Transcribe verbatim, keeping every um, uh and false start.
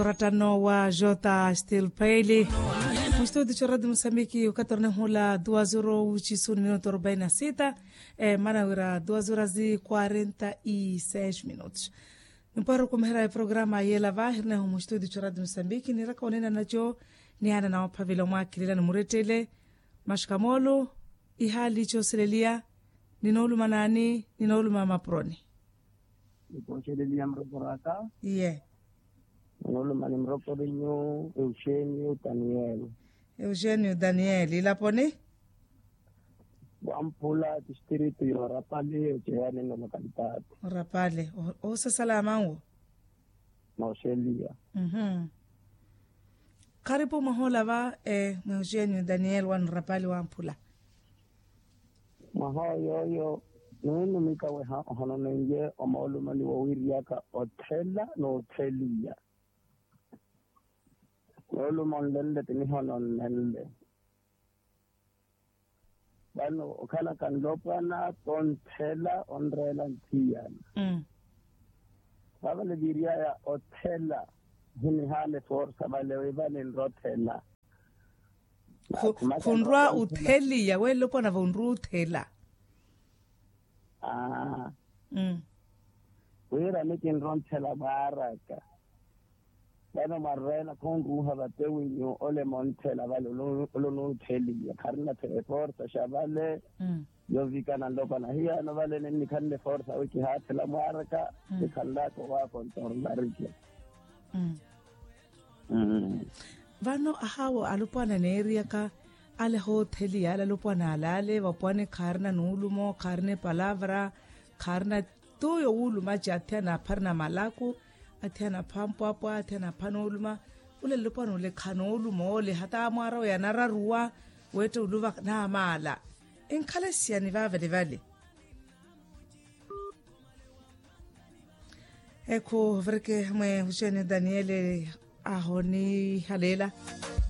Ratano wa jota stilpaili. Mustudio choradi musambiki ukatorne hula duas horas uchisu minuto arobaini na sita. Mana wira duas horas quarenta e seis minutos. Nimpwaro kumihira ya programa yela vahirini ho mustudio choradi musambiki niraka onena nacho. Ni ana naophavila omwakilila nimuretele. Mashikamolo. Ihali choseleliya. Ninooluma nani? Ninooluma mapuroni. Nikoxeleliya murokoraka. Iye. Ninooluma ni murokorinyu euxenio daniel. Euxenio daniel ilaponi? Wamphula distrito yorapali oceyani nolokalitati. Orapali. Oosasala amanwo. Nooxeliya. Kharipu mwaha ola va. Mwehuxenio daniel wanu rapali wamphula. Mwaha oyooyo nuunumika weha ohononeiye omoolumani wowiiriyaka othela n'otheliya. Mooluma onlenle ti nihononnenle. Vano okhalaka nlopwana tonthela onreela nthiyana. Vavale viiriyaya othela. Hinihaana eforsa vale wi vale nrothela. Khunrwa otheliya we nlopwana vonrwa othela. Aa. Wira nikinronthela vaaraka. Vano mwarweela khunruuha vatewinyu ole monthela vale. Olonotheliya kharina eforsa xa vale. Yovikana nlopwana hiyano vale ninnikhanle eforsa wi kihaathela mwaaraka. Nikhanlaka owakontornarike. Vano ahaawo alopwana neeriyaka ale hootheliya ale alopwana alaale vapwani khaarina nuulumo khaarina epalavra. Khaarina tuyo wuulumaci athiyana apharina malaku. Athiyana apha mpwapwa athiyana apha nuuluma. Ule alopwana ule khanooluma ole hata amwaara oyo anararuwa. Weetta uluva naamaala. Enkhala esiyani vaavale vale. Ekhu virke mwe huxene daniele. Ahonihaleela.